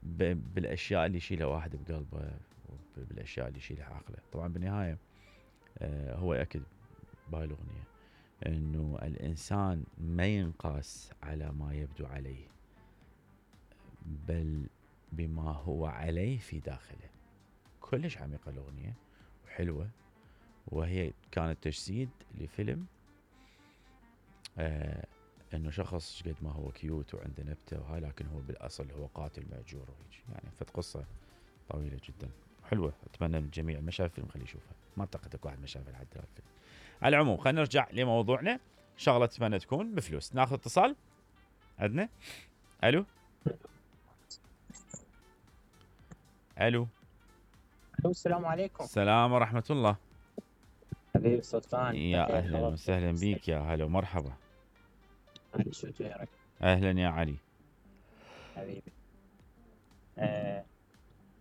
بالاشياء اللي يشيلها واحد بقلبه، بالاشياء اللي يشيلها عقله. طبعا بالنهايه هو ياكد بهاي الاغنيه انه الانسان ما ينقاس على ما يبدو عليه، بل بما هو عليه في داخله. كلش عميقه الاغنيه وحلوه، وهي كانت تجسيد لفيلم انه شخص قد ما هو كيوت وعنده نبته وهاي، لكن هو بالاصل هو قاتل ماجور وهيك يعني. فت قصه طويله جدا حلوه، اتمنى من الجميع ما شاف الفيلم خليه يشوفها. ما اعتقد اكو واحد ما شافه لحد الفيلم. على العموم خلينا نرجع لموضوعنا. شغله اتمنى تكون بفلوس. ناخذ اتصال عندنا. الو الو. السلام عليكم. السلام ورحمه الله. حبيبي سلطان، يا اهلا وسهلا بيك، يا هلا ومرحبا. علي شو جيرك؟ اهلا يا علي حبيبي.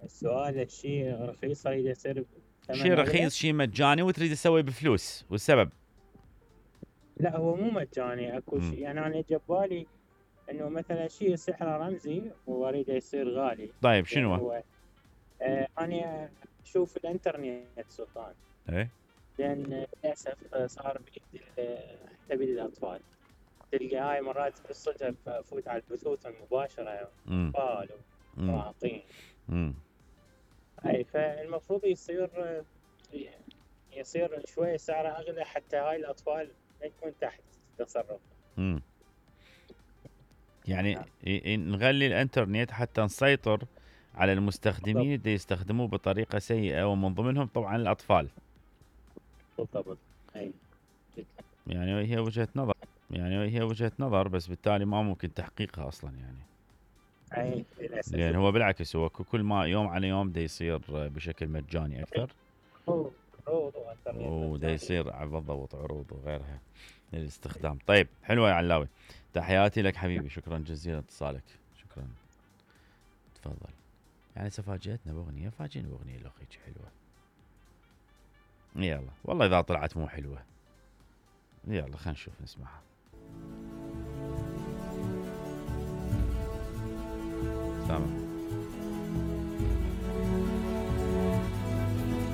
السؤال شيء رخيص يريد يصير شيء رخيص شيء مجاني وتريد تسوي بفلوس، والسبب؟ لا هو مو مجاني، اكو شيء يعني انا جبالي انه مثلا شيء سحر رمزي واريد يصير غالي. طيب شنو هو انا اشوف الانترنت سلطان، ايه، لان للاسف صار بايد حتى بايد الاطفال. تلقى هاي مرات بالصدف افوت على البثوث المباشره اطفال ومراهقين. اي فالمفروض يصير شوي سعره اغلى حتى هاي الاطفال ما يكون تحت تصرف. يعني نغلي الانترنت حتى نسيطر على المستخدمين اللي يستخدموه بطريقه سيئه، ومن ضمنهم طبعا الاطفال. بالضبط. اي يعني هي وجهه نظر، بس بالتالي ما ممكن تحقيقها اصلا يعني. اي للاسف. لان هو بالعكس، هو كل ما يوم على يوم دا يصير بشكل مجاني اكثر. عروض ودا يصير بالضبط عروض وغيرها للاستخدام. طيب حلوه يا علاوي، تحياتي لك حبيبي، شكرا جزيلا اتصالك، شكرا. تفضل. يعني هسه فاجأتنا باغنيه، فاجئنا باغنيه لخيك حلوه. يلا والله اذا طلعت مو حلوه يلا خلينا نشوف نسمعها. سامع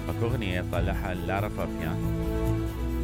اكو اغنيه طلعها لارا فابيان